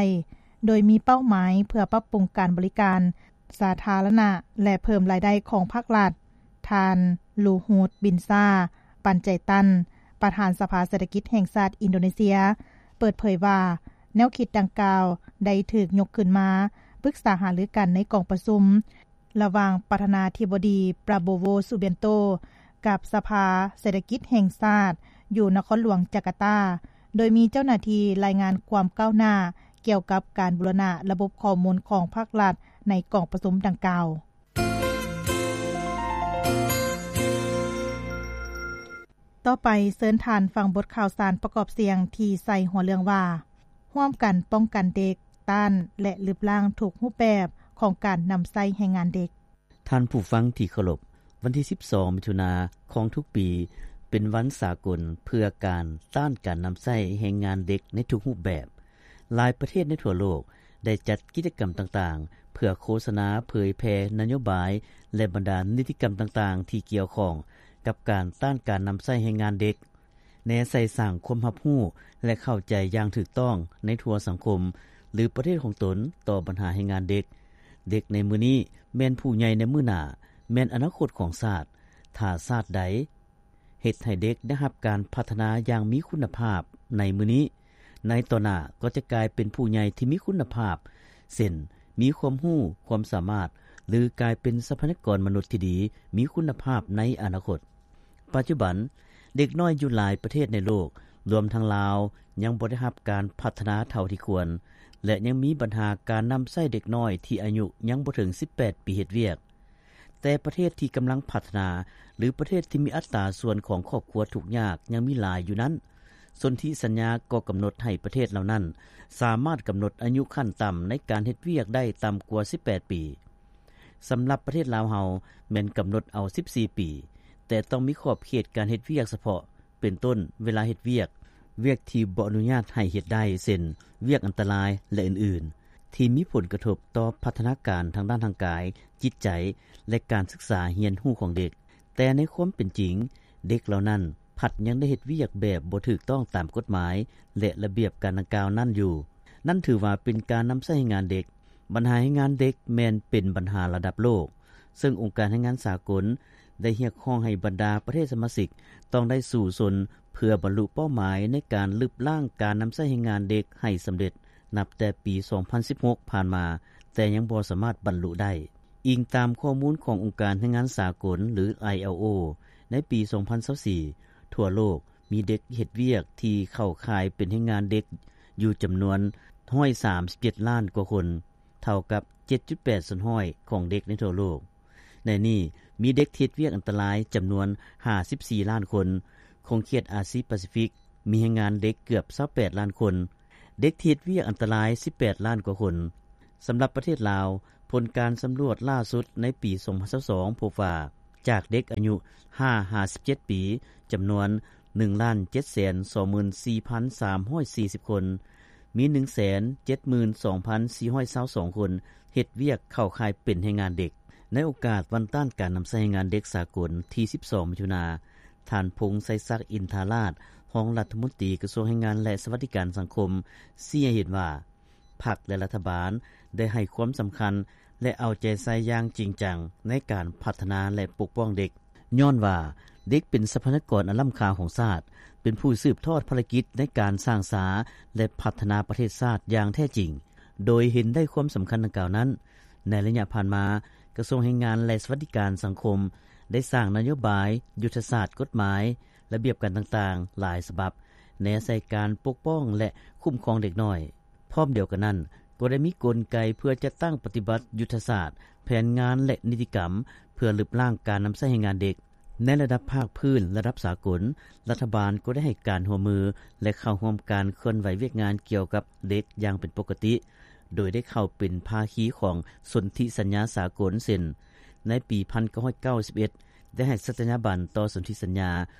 ໂດຍມີເປົ້າໝາຍເພື່ອປັບປຸງການບໍລິການສາທາລະນະ ແລະ ເພີ່ມລາຍໄດ້ຂອງພາກລັດ. ທ່ານ ລູຮູດ ບິນຊາ ປັນໄຈຕັນ ປະທານສະພາເສດຖະກິດແຫ່ງຊາດອິນໂດເນເຊຍ ເປີດເຜີຍວ່າ ແນວຄິດດັ່ງກ່າວໄດ້ຖືກຍົກຂຶ້ນມາປຶກສາຫາລືກັນໃນກອງປະຊຸມ ລະຫວ່າງປະທານາທິບໍດີ ປາໂບໂວ ຊູບຽນໂຕ ກັບສະພາເສດຖະກິດແຫ່ງຊາດ ຢູ່ນະຄອນຫຼວງຈາກາຕາ, ໂດຍມີເຈົ້າໜ້າທີ່ລາຍງານຄວາມກ້າວໜ້າກ່ຽວກັບການບູລະນະລະບົບຂໍ້ມູນຂອງພາກລັດໃນກອງປະຊຸມດັ່ງກ່າວ. ຕໍ່ໄປເຊີນທ່ານຟັງບົດຂ່າວສານປະກອບສຽງທີ່ໃສ່ຫົວເລື່ອງວ່າ ຮ່ວມກັນປ້ອງກັນເດັກ, ຕ້ານ ແລະ ລຶບລ້າງທຸກຮູບແບບຂອງການນຳໃຊ້ແຮງງານເດັກ. ທ່ານຜູ້ຟັງທີ່ເຄົາລົບ, ວັນທີສິບສອງ ມິຖຸນາຂອງທຸກປີ ເປັນວັນສາກົນເພື່ອການຕ້ານການນຳໃຊ້ແຮງງານເດັກໃນທຸກຮູບແບບ. ຫຼາຍປະເທດໃນທົ່ວໂລກໄດ້ຈັດກິດຈະກຳຕ່າງໆ ເພື່ອໂຄສະນາເຜີຍແຜ່ນະໂຍບາຍ ແລະ ບັນດານິຕິກຳຕ່າງໆ ທີ່ກ່ຽວຂ້ອງກັບການຕ້ານການນຳໃຊ້ແຮງງານເດັກ. ແນໃສ່ສ້າງຄວາມຮັບຮູ້ ແລະ ເຂົ້າໃຈຢ່າງຖືກຕ້ອງໃນທົ່ວສັງຄົມ ຫຼື ປະເທດຂອງຕົນຕໍ່ບັນຫາແຮງງານເດັກ. ເດັກໃນມື້ນີ້ແມ່ນຜູ້ໃຫຍ່ໃນມື້ໜ້າ, ແມ່ນອະນາຄົດຂອງຊາດ. ຖ້າຊາດໃດເຮັດໃຫ້ເດັກໄດ້ຮັບການພັດທະນາຢ່າງມີຄຸນນະພາບໃນມື້ນີ້, ໃນຕໍ່ໜ້າກໍຈະກາຍເປັນຜູ້ໃຫຍ່ທີ່ມີຄຸນນະພາບ, ເຊັ່ນ ມີຄວາມຮູ້, ຄວາມສາມາດ ຫຼື ກາຍເປັນຊັບພະຍາກອນມະນຸດທີ່ດີ, ມີຄຸນນະພາບໃນອະນາຄົດ. ປັດຈຸບັນ, ເດັກນ້ອຍຢູ່ຫຼາຍປະເທດໃນໂລກ, ລວມທັງລາວ, ຍັງບໍ່ໄດ້ຮັບການພັດທະນາເທົ່າທີ່ຄວນ ແລະ ຍັງມີບັນຫາການນຳໃຊ້ເດັກນ້ອຍທີ່ອາຍຸຍັງບໍ່ເຖິງສິບແປດປີເຮັດວຽກ. ແຕ່ປະເທດທີ່ກຳລັງພັດທະນາ ຫຼື ປະເທດທີ່ມີອັດຕາສ່ວນຂອງຄອບຄົວທຸກຍາກຍັງມີຫຼາຍຢູ່ນັ້ນ, ສົນທິສັນຍາກໍກຳນົດໃຫ້ປະເທດເຫຼົ່ານັ້ນສາມາດກຳນົດອາຍຸຂັ້ນຕ່ຳໃນການເຮັດວຽກໄດ້ຕ່ຳກວ່າສິບແປດປີ. ສຳລັບປະເທດລາວເຮົາແມ່ນກຳນົດເອົາສິບສີ່ປີ, ແຕ່ຕ້ອງມີຂອບເຂດການເຮັດວຽກສະເພາະ, ເປັນຕົ້ນ ເວລາເຮັດວຽກ, ວຽກທີ່ບໍ່ອະນຸຍາດໃຫ້ເຮັດໄດ້ ເຊັ່ນ ວຽກອັນຕະລາຍ ແລະ ອື່ນໆ ທີ່ມີຜົນກະທົບຕໍ່ພັດທະນາການທາງດ້ານຮ່າງກາຍ, ຈິດໃຈ ແລະ ການສຶກສາຮຽນຮູ້ຂອງເດັກ. ແຕ່ໃນຄວາມເປັນຈິງ, ເດັກເຫຼົ່ານັ້ນພັດຍັງໄດ້ເຮັດວຽກແບບບໍ່ຖືກຕ້ອງຕາມກົດໝາຍ ແລະ ລະບຽບການດັ່ງກ່າວນັ້ນຢູ່. ນັ້ນຖືວ່າເປັນການນຳໃຊ້ແຮງງານເດັກ. ບັນຫາແຮງງານເດັກແມ່ນເປັນບັນຫາລະດັບໂລກ, ເຊິ່ງອົງການແຮງງານສາກົນໄດ້ຮຽກຮ້ອງໃຫ້ບັນດາປະເທດສະມາຊິກຕ້ອງໄດ້ສູ້ຊົນເພື່ອບັນລຸເປົ້າໝາຍໃນການລຶບລ້າງການນຳໃຊ້ແຮງງານເດັກໃຫ້ສຳເລັດ ນັບແຕ່ປີສອງພັນສິບຫົກຜ່ານມາ, ແຕ່ຍັງບໍ່ສາມາດບັນລຸໄດ້. ອີງຕາມຂໍ້ມູນຂອງອົງການແຮງງານສາກົນ ຫຼື ໄອ ແອລ ໂອ ໃນປີສອງພັນຊາວສີ່ ທົ່ວໂລກມີເດັກເຮັດວຽກທີ່ເຂົ້າຂ່າຍເປັນແຮງງານເດັກຢູ່ຈຳນວນຮ້ອຍສາມສິບເຈັດລ້ານກວ່າຄົນ, ເທົ່າກັບເຈັດຈຸດແປດສ່ວນຮ້ອຍຂອງເດັກໃນທົ່ວໂລກ. ໃນນີ້ ມີເດັກທີ່ເຮັດວຽກອັນຕະລາຍຈຳນວນຫ້າສິບສີ່ລ້ານຄົນ, ຂົງເຂດອາຊີປາຊີຟິກມີແຮງງານເດັກເກືອບຊາວແປດລ້ານຄົນ, ເດັກທີ່ເຮັດວຽກອັນຕະລາຍສິບແປດລ້ານກວ່າຄົນ. ສຳລັບປະເທດລາວ, ຜົນການສຳຫຼວດລ່າສຸດໃນປີສອງພັນຊາວສອງ ພົບວ່າ ຈາກເດັກອາຍຸຫ້າຫາສິບເຈັດປີ ຈຳນວນໜຶ່ງລ້ານເຈັດແສນສອງໝື່ນສີ່ພັນສາມຮ້ອຍສີ່ສິບຄົນ, ມີໜຶ່ງແສນເຈັດໝື່ນສອງພັນສີ່ຮ້ອຍຊາວສອງຄົນເຮັດວຽກເຂົ້າຂ່າຍເປັນແຮງງານເດັກ. ໃນໂອກາດວັນຕ້ານການນຳໃຊ້ແຮງງານເດັກສາກົນທີສິບສອງມິຖຸນາ, ທ່ານ ພົງໄຊສັກ ອິນທາລາດ ຮອງລັດຖະມົນຕີກະຊວງແຮງງານ ແລະ ສະຫວັດດີການສັງຄົມ ຊີ້ໃຫ້ເຫັນວ່າ ພັກ ແລະ ລັດຖະບານໄດ້ໃຫ້ຄວາມສຳຄັນ ແລະ ເອົາໃຈໃສ່ຢ່າງຈິງຈັງໃນການພັດທະນາ ແລະ ປົກປ້ອງເດັກ, ຍ້ອນວ່າເດັກເປັນຊັບພະຍາກອນອັນລ້ຳຄ່າຂອງຊາດ, ເປັນຜູ້ສືບທອດພາລະກິດໃນການສ້າງສາ ແລະ ພັດທະນາປະເທດຊາດຢ່າງແທ້ຈິງ. ໂດຍເຫັນໄດ້ຄວາມສຳຄັນດັ່ງກ່າວນັ້ນ, ໃນໄລຍະຜ່ານມາ, ກະຊວງແຮງງານ ແລະ ສະຫວັດດີການສັງຄົມ ໄດ້ສ້າງນະໂຍບາຍ, ຍຸດທະສາດ, ກົດໝາຍ, ລະບຽບການຕ່າງໆຫຼາຍສະບັບ ແນໃສ່ການປົກປ້ອງ ແລະ ຄຸ້ມຄອງເດັກນ້ອຍ. ພ້ອມດຽວກັນນັ້ນ, ກໍໄດ້ມີກົນໄກເພື່ອຈັດຕັ້ງປະຕິບັດຍຸດທະສາດ, ແຜນງານ ແລະ ນິຕິກຳ ເພື່ອລຶບລ້າງການນຳໃຊ້ແຮງງານເດັກ. ໃນລະດັບພາກພື້ນ, ລະດັບສາກົນ, ລັດຖະບານກໍໄດ້ໃຫ້ການຮ່ວມມື ແລະ ເຂົ້າຮ່ວມການເຄື່ອນໄຫວວຽກງານກ່ຽວກັບເດັກຢ່າງເປັນປົກກະຕິ, ໂດຍໄດ້ເຂົ້າເປັນພາຄີຂອງສົນທິສັນຍາສາກົນ ເຊັ່ນ ໃນປີໜຶ່ງພັນເກົ້າຮ້ອຍເກົ້າສິບເອັດ ໄດ້ໃຫ້ສັດຕະຍາບັນຕໍ່ສົນທິສັນຍາ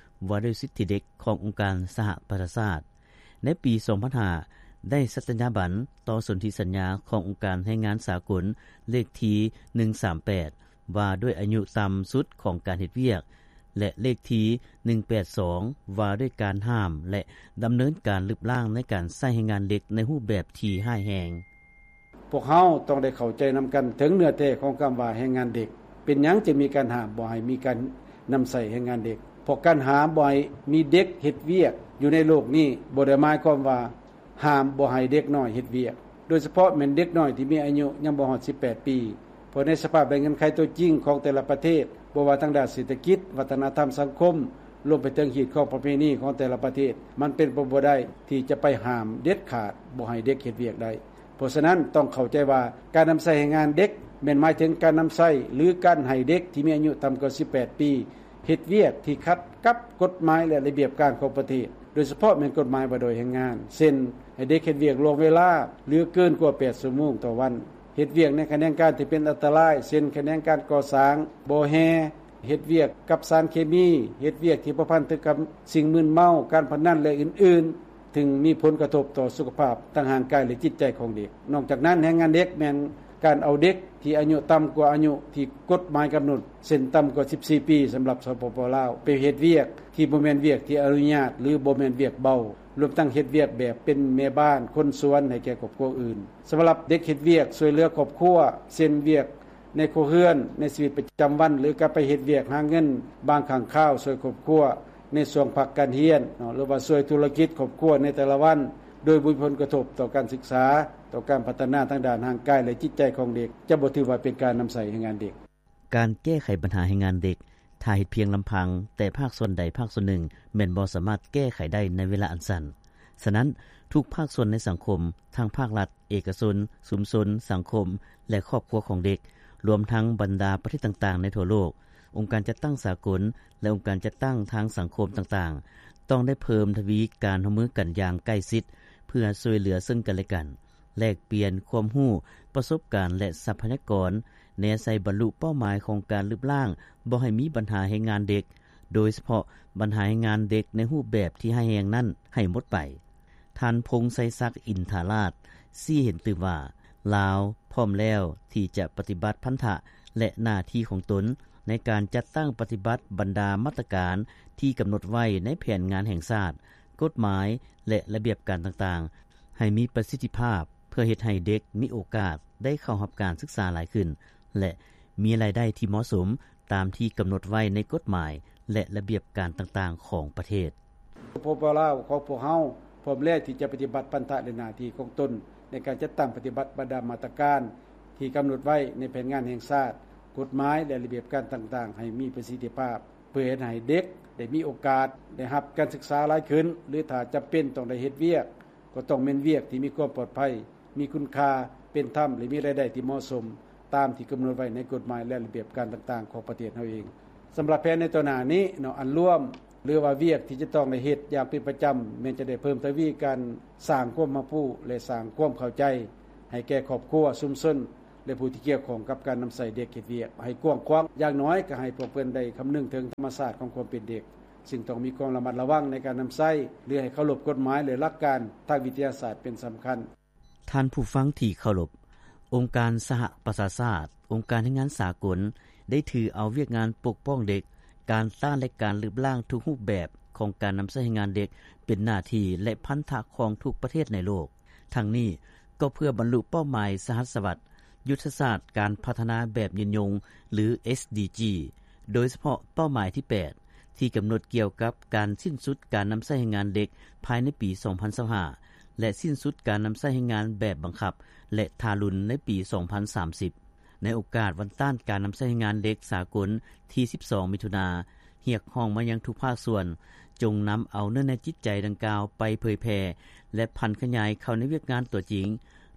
ວ່າດ້ວຍສິດທິເດັກຂອງອົງການສະຫະປະຊາຊາດ. ໃນປີສອງພັນຫ້າ ໄດ້ສັດຕະຍາບັນຕໍ່ສົນທິສັນຍາຂອງອົງການແຮງງານສາກົນ ເລກທີໜຶ່ງສາມແປດ ວ່າດ້ວຍອາຍຸຕ່ຳສຸດຂອງການເຮັດວຽກ ແລະ ເລກທີໜຶ່ງແປດສອງ ວ່າດ້ວຍການຫ້າມ ແລະ ດຳເນີນການລຶບລ້າງໃນການໃຊ້ແຮງງານເດັກໃນຮູບແບບທີ່ຮ້າຍແຮງ. ພວກເຮົາຕ້ອງໄດ້ເຂົ້າໃຈນຳກັນເຖິງເນື້ອແທ້ຂອງຄຳວ່າແຮງງານເດັກ. ເປັນຫຍັງຈຶ່ງມີການຫ້າມບໍ່ໃຫ້ມີການນຳໃຊ້ແຮງງານເດັກ? ເພາະການຫ້າມບໍ່ໃຫ້ມີເດັກເຮັດວຽກຢູ່ໃນໂລກນີ້ ບໍ່ໄດ້ໝາຍຄວາມວ່າຫ້າມບໍ່ໃຫ້ເດັກນ້ອຍເຮັດວຽກ, ໂດຍສະເພາະແມ່ນເດັກນ້ອຍທີ່ມີອາຍຸຍັງບໍ່ຮອດສິບແປດປີ. ເພາະໃນສະພາບແລະເງື່ອນໄຂຕົວຈິງຂອງແຕ່ລະປະເທດ, ບໍ່ວ່າທາງດ້ານເສດຖະກິດ, ວັດທະນະທຳສັງຄົມ, ລວມໄປເຖິງຮີດຄອງປະເພນີຂອງແຕ່ລະປະເທດ, ມັນເປັນໄປບໍ່ໄດ້ທີ່ຈະໄປຫ້າມເດັດຂາດບໍ່ໃຫ້ເດັກເຮັດວຽກໄດ້. ເພາະສະນັ້ນ, ຕ້ອງເຂົ້າໃຈວ່າການນຳໃຊ້ແຮງງານເດັກ ແມ່ນໝາຍເຖິງການນຳໃຊ້ ຫຼື ການໃຫ້ເດັກທີ່ມີອາຍຸຕ່ຳກວ່າສິບແປດປີ ເຮັດວຽກທີ່ຂັດກັບກົດໝາຍ ແລະ ລະບຽບການຂອງປະເທດ, ໂດຍສະເພາະແມ່ນກົດໝາຍວ່າດ້ວຍແຮງງານ, ເຊັ່ນ ໃຫ້ເດັກເຮັດວຽກລ່ວງເວລາ ຫຼື ເກີນກວ່າແປດຊົ່ວໂມງຕໍ່ວັນ, ເຮັດວຽກໃນຂະແໜງການທີ່ເປັນອັນຕະລາຍ, ເຊັ່ນ ຂະແໜງການກໍ່ສ້າງ, ບໍ່ແຮ່, ເຮັດວຽກກັບສານເຄມີ, ເຮັດວຽກທີ່ພົວພັນເຖິງກັບສິ່ງມຶນເມົາ, ການພະນັນ ແລະ ອື່ນໆ, ຊຶ່ງມີຜົນກະທົບຕໍ່ສຸຂະພາບທາງຮ່າງກາຍ ແລະ ຈິດໃຈຂອງເດັກ. ນອກຈາກນັ້ນ, ແຮງງານເດັກແມ່ນການເອົາເດັກທີ່ອາຍຸຕ່ຳກວ່າອາຍຸທີ່ກົດໝາຍກຳນົດ, ເຊັ່ນ ຕ່ຳກວ່າສິບສີ່ປີ ສຳລັບ ສປປ ລາວ, ໄປເຮັດວຽກທີ່ບໍ່ແມ່ນວຽກທີ່ອະນຸຍາດ ຫຼື ບໍ່ແມ່ນວຽກເບົາ, ລວມທັງເຮັດວຽກແບບເປັນແມ່ບ້ານ, ຄົນສວນໃຫ້ແກ່ຄອບຄົວອື່ນ. ສຳລັບເດັກເຮັດວຽກຊ່ວຍເຫຼືອຄອບຄົວ, ເຊັ່ນ ວຽກ ໃນຄົວເຮືອນ, ໃນຊີວິດປະຈຳວັນ ຫຼື ກະໄປເຮັດວຽກຫາເງິນບາງຄັ້ງຄາວ ຊ່ວຍຄອບຄົວໃນຊ່ວງພັກການຮຽນເນາະ ຫຼືວ່າຊ່ວຍທຸລະກິດຄອບຄົວໃນແຕ່ລະວັນ, ໂດຍບໍ່ມີຜົນກະທົບຕໍ່ການສຶກສາ, ຕໍ່ການພັດທະນາທາງດ້ານຮ່າງກາຍ ແລະ ຈິດໃຈຂອງເດັກ, ຈະບໍ່ຖືວ່າເປັນການນຳໃຊ້ແຮງງານເດັກ. ການແກ້ໄຂບັນຫາແຮງງານເດັກ ຖ້າເຮັດພຽງລຳພັງແຕ່ພາກສ່ວນໃດພາກສ່ວນໜຶ່ງ ແມ່ນບໍ່ສາມາດແກ້ໄຂໄດ້ໃນເວລາອັນສັ້ນ. ສະນັ້ນ, ທຸກພາກສ່ວນໃນສັງຄົມ, ທັງພາກລັດ, ເອກະຊົນ, ຊຸມຊົນ, ສັງຄົມ ແລະ ຄອບຄົວຂອງເດັກ, ລວມທັງບັນດາປະເທດຕ່າງໆໃນທົ່ວໂລກ, ອົງການຈັດຕັ້ງສາກົນ ແລະ ອົງການຈັດຕັ້ງທາງສັງຄົມຕ່າງໆ ຕ້ອງໄດ້ເພີ່ມທະວີການຮ່ວມມືກັນຢ່າງໃກ້ຊິດ ເພື່ອຊ່ວຍເຫຼືອເຊິ່ງກັນແລະກັນ, ແລກປ່ຽນຄວາມຮູ້, ປະສົບການ ແລະ ຊັບພະຍາກອນ ແນໃສ່ບັນລຸເປົ້າໝາຍຂອງການລຶບລ້າງບໍ່ໃຫ້ມີບັນຫາແຮງງານເດັກ, ໂດຍສະເພາະບັນຫາແຮງງານເດັກໃນຮູບແບບທີ່ຮ້າຍແຮງນັ້ນໃຫ້ໝົດໄປ. ທ່ານ ພົງໄຊສັກ ອິນທາລາດ ຊີ້ເຫັນຕື່ມວ່າ ລາວພ້ອມແລ້ວທີ່ຈະປະຕິບັດພັນທະ ແລະ ໜ້າທີ່ຂອງຕົນໃນການຈັດຕັ້ງປະຕິບັດບັນດາມາດຕະການທີ່ກຳນົດໄວ້ໃນແຜນງານແຫ່ງຊາດ, ກົດໝາຍ ແລະ ລະບຽບການຕ່າງໆ ໃຫ້ມີປະສິດທິພາບ ເພື່ອເຮັດໃຫ້ເດັກມີໂອກາດໄດ້ເຂົ້າຮັບການສຶກສາຫຼາຍຂຶ້ນ ແລະ ມີລາຍໄດ້ທີ່ເໝາະສົມຕາມທີ່ກຳນົດໄວ້ໃນກົດໝາຍ ແລະ ລະບຽບການຕ່າງໆຂອງປະເທດ. ສປປ ລາວຂອງພວກເຮົາພ້ອມແລ້ວທີ່ຈະປະຕິບັດພັນທະ ແລະ ໜ້າທີ່ຂອງຕົນໃນການຈັດຕັ້ງປະຕິບັດບັນດາມາດຕະການທີ່ກຳນົດໄວ້ໃນແຜນງານແຫ່ງຊາດ, ກົດໝາຍ ແລະ ລະບຽບການຕ່າງໆ ໃຫ້ມີປະສິດທິພາບ ເພື່ອເຮັດໃຫ້ເດັກໄດ້ມີໂອກາດໄດ້ຮັບການສຶກສາຫຼາຍຂຶ້ນ ຫຼື ຖ້າຈຳເປັນຕ້ອງໄດ້ເຮັດວຽກ ກໍຕ້ອງແມ່ນວຽກທີ່ມີຄວາມປອດໄພ, ມີຄຸນຄ່າ, ເປັນທຳ ແລະ ມີລາຍໄດ້ທີ່ເໝາະສົມ. ຕາມທີ່ກຳນົດໄວ້ໃນກົດໝາຍ ແລະ ລະບຽບການຕ່າງໆຂອງປະເທດເຮົາເອງ. ສຳລັບແຜນໃນຕໍ່ໜ້ານີ້ເນາະ ອັນລວມ ຫຼືວ່າວຽກທີ່ຈະຕ້ອງໄດ້ເຮັດຢ່າງເປັນປະຈຳ ແມ່ນຈະໄດ້ເພີ່ມທະວີການສ້າງຄວາມຮັບຮູ້ ແລະ ສ້າງຄວາມເຂົ້າໃຈໃຫ້ແກ່ຄອບຄົວ, ຊຸມຊົນ ແລະ ຜູ້ທີ່ກ່ຽວຂ້ອງກັບການນຳໃຊ້ເດັກເຮັດວຽກໃຫ້ກວ້າງຂວາງ. ຢ່າງໜ້ອຍກໍໃຫ້ພວກເພິ່ນໄດ້ຄຳນຶງເຖິງທຳມະຊາດຂອງຄວາມເປັນເດັກ, ຊຶ່ງຕ້ອງມີຄວາມລະມັດລະວັງໃນການນຳໃຊ້ ຫຼື ໃຫ້ເຄົາລົບກົດໝາຍ ແລະ ຫຼັກການທາງວິທະຍາສາດເປັນສຳຄັນ. ທ່ານຜູ້ຟັງທີ່ເຄົາລົບ, ອົງການສະຫະປະຊາຊາດ, ອົງການແຮງງານສາກົນ ໄດ້ຖືເອົາວຽກງານປົກປ້ອງເດັກ, ການຕ້ານ ແລະ ການລຶບລ້າງທຸກຮູບແບບຂອງການນຳໃຊ້ແຮງງານເດັກ ເປັນໜ້າທີ່ ແລະ ພັນທະຂອງທຸກປະເທດໃນໂລກ. ທັງນີ້ກໍເພື່ອບັນລຸເປົ້າໝາຍສະຫັດສະວັດ, ຍຸດທະສາດການພັດທະນາແບບຍືນຍົງ ຫຼື ເອສດີຈີ, ໂດຍສະເພາະເປົ້າໝາຍທີແປດ ທີ່ກຳນົດກ່ຽວກັບການສິ້ນສຸດການນຳໃຊ້ແຮງງານເດັກພາຍໃນປີສອງພັນຊາວຫ້າ ແລະ ສິ້ນສຸດການນຳໃຊ້ແຮງງານແບບບັງຄັບ ແລະ ທາລຸນໃນປີສອງພັນສາມສິບ. ໃນໂອກາດວັນຕ້ານການນຳໃຊ້ແຮງງານເດັກສາກົນທີສິບສອງມິຖຸນາ, ຮຽກຮ້ອງມາຍັງທຸກພາກສ່ວນ ຈົ່ງນຳເອົາເນື້ອໃນຈິດໃຈດັ່ງກ່າວໄປເຜີຍແຜ່ ແລະ ຜັນຂະຫຍາຍເຂົ້າໃນວຽກງານຕົວຈິງ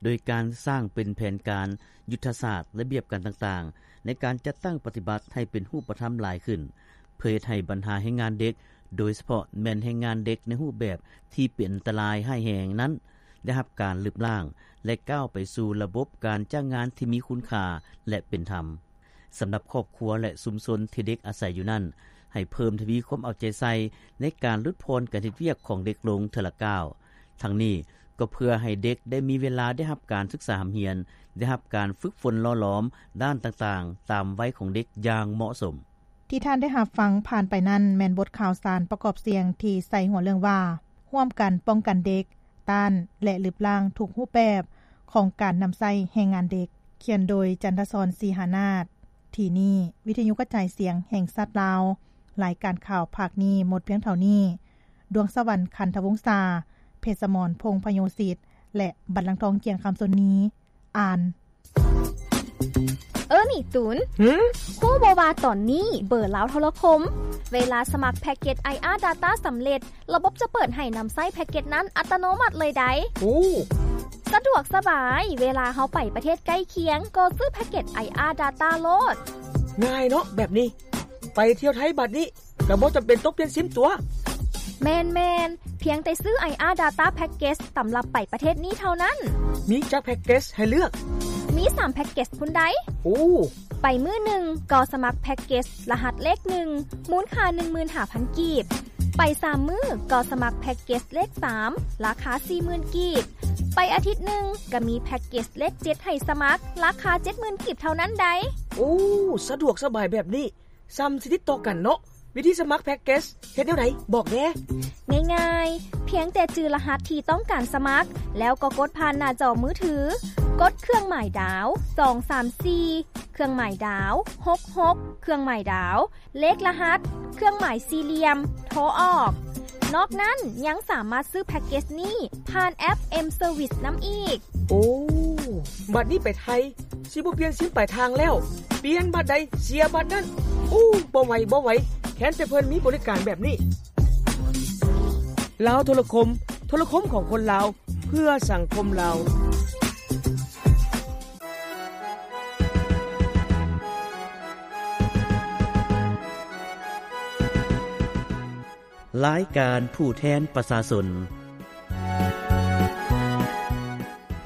ໂດຍການສ້າງເປັນແຜນການ, ຍຸດທະສາດ, ລະບຽບການຕ່າງໆ ໃນການຈັດຕັ້ງປະຕິບັດໃຫ້ເປັນຮູບປະທຳຫຼາຍຂຶ້ນ, ເພື່ອເຮັດໃຫ້ບັນຫາແຮງງານເດັກ, ໂດຍສະເພາະແມ່ນແຮງງານເດັກໃນຮູບແບບທີ່ເປັນອັນຕະລາຍຮ້າຍແຮງນັ້ນ ໄດ້ຮັບການລຶບລ້າງ ແລະ ກ້າວໄປສູ່ລະບົບການຈ້າງງານທີ່ມີຄຸນຄ່າ ແລະ ເປັນທຳ. ສຳລັບຄອບຄົວ ແລະ ຊຸມຊົນທີ່ເດັກອາໄສຢູ່ນັ້ນ, ໃຫ້ເພີ່ມທະວີຄວາມເອົາໃຈໃສ່ໃນການຫຼຸດຜ່ອນການເຮັດວຽກຂອງເດັກລົງເທື່ອລະກ້າວ. ທັງນີ້ກໍເພື່ອໃຫ້ເດັກໄດ້ມີເວລາໄດ້ຮັບການສຶກສາຮ່ຳຮຽນ, ໄດ້ຮັບການຝຶກຝົນຫຼໍ່ຫຼອມດ້ານຕ່າງໆ ຕາມໄວຂອງເດັກຢ່າງເໝາະສົມ. ທີ່ທ່ານໄດ້ຮັບຟັງຜ່ານໄປນັ້ນ ແມ່ນບົດຂ່າວສານປະກອບສຽງທີ່ໃສ່ຫົວເລື່ອງວ່າ ຮ່ວມກັນປ້ອງກັນເດັກ, ຕ້ານ ແລະ ລຶບລ້າງທຸກຮູບແບບຂອງການນຳໃຊ້ແຮງງານເດັກ, ຂຽນໂດຍ ຈັນທະສອນ ສີຫານາດ. ທີ່ນີ້ ວິທະຍຸກະຈາຍສຽງແຫ່ງຊາດລາວ, ລາຍການຂ່າວພາກນີ້ໝົດພຽງເທົ່ານີ້. ດວງສະຫວັນ ຄັນທະວົງສາ, ເພັດສະໝອນ ພົງພະໂຍສິດ ແລະ ບັນລັງທອງ ກຽງຄຳຊົນນີ ອ່ານ. ເອີ ນີ້ຕູນ. ຫື? ຮູ້ບໍ່ວ່າຕອນນີ້ເບີລາວໂທລະຄົມ ເວລາສະໝັກແພັກເກັດ ໄອອາ Data ສຳເລັດ, ລະບົບຈະເປີດໃຫ້ນຳໃຊ້ແພັກເກັດນັ້ນອັດຕະໂນມັດເລີຍໃດ໋. ໂອ້ ສະດວກສະບາຍ, ເວລາເຮົາໄປປະເທດໃກ້ຄຽງ ກໍຊື້ແພັກເກັດ ໄອອາ Data ໂລດ. ງ່າຍເນາະແບບນີ້. ໄປທ່ຽວໄທບາດນີ້ ກໍບໍ່ຈຳເປັນຕ້ອງປ່ຽນຊິມຕົວະ. ແມ່ນໆ, ພຽງແຕ່ຊື້ ໄອອາ Data Package ສຳລັບໄປປະເທດນີ້ເທົ່ານັ້ນ. ມີຈັກແພັກເກັດໃຫ້ເລືອກ? ມີສາມແພັກເກັດພຸ້ນໃດ໋. ໂອ້ ໄປມື້ໜຶ່ງກໍສະໝັກແພັກເກັດລະຫັດເລກໜຶ່ງ ມູນຄ່າໜຶ່ງໝື່ນຫ້າພັນກີບ. ໄປສາມມື້ກໍສະໝັກແພັກເກັດເລກສາມ ລາຄາສີ່ໝື່ນກີບ. ໄປອາທິດໜຶ່ງກໍມີແພັກເກັດເລກເຈັດໃຫ້ສະໝັກ ລາຄາເຈັດໝື່ນກີບເທົ່ານັ້ນໃດ໋. ໂອ້ ສະດວກສະບາຍແບບນີ້. ສ່ຳຊິຕິດຕໍ່ກັນເນາະ. ວິທີສະໝັກແພັກເກັດເຮັດແນວໃດ? ບອກແດ່. ງ່າຍໆ, ພຽງແຕ່ຈື່ລະຫັດທີ່ຕ້ອງການສະໝັກ ແລ້ວກໍກົດຜ່ານໜ້າຈໍມືຖື, ກົດເຄື່ອງໝາຍດາວ ສອງສາມສີ່ ເຄື່ອງໝາຍດາວ ຫົກຫົກ ເຄື່ອງໝາຍດາວ ເລກລະຫັດ ເຄື່ອງໝາຍສີ່ຫຼ່ຽມ ໂທອອກ. ນອກນັ້ນຍັງສາມາດຊື້ແພັກເກັດນີ້ຜ່ານແອັບ M-Service ນຳອີກ. ໂອ້ ບັດນີ້ໄປໄທ ຊິບໍ່ປ່ຽນຊິມປາຍທາງແລ້ວ, ປ່ຽນບັດໃດເສຍບັດນັ້ນ. ໂອ້ ບໍ່ໄຫວ ບໍ່ໄຫວ, ແຄ້ນແຕ່ເພິ່ນມີບໍລິການແບບນີ້. ລາວໂທລະຄົມ, ໂທລະຄົມຂອງຄົນລາວ ເພື່ອສັງຄົມລາວ. ລາຍການຜູ້ແທນປະຊາຊົນ.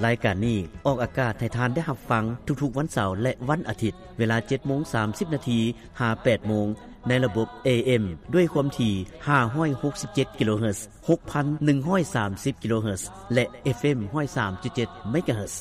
ລາຍການນີ້ອອກອາກາດໃຫ້ທ່ານໄດ້ຮັບຟັງທຸກໆວັນເສົາ ແລະ ວັນອາທິດ ເວລາເຈັດໂມງສາມສິບນາທີ ຫາ ແປດໂມງ ໃນລະບົບ ເອເອັມ ດ້ວຍຄວາມຖີ່ ຫ້າຮ້ອຍຫົກສິບເຈັດ ກິໂລເຮີດ, ຫົກພັນໜຶ່ງຮ້ອຍສາມສິບ ກິໂລເຮີດ ແລະ ເອັຟເອັມ ຮ້ອຍສາມຈຸດເຈັດ ເມກາເຮີດ.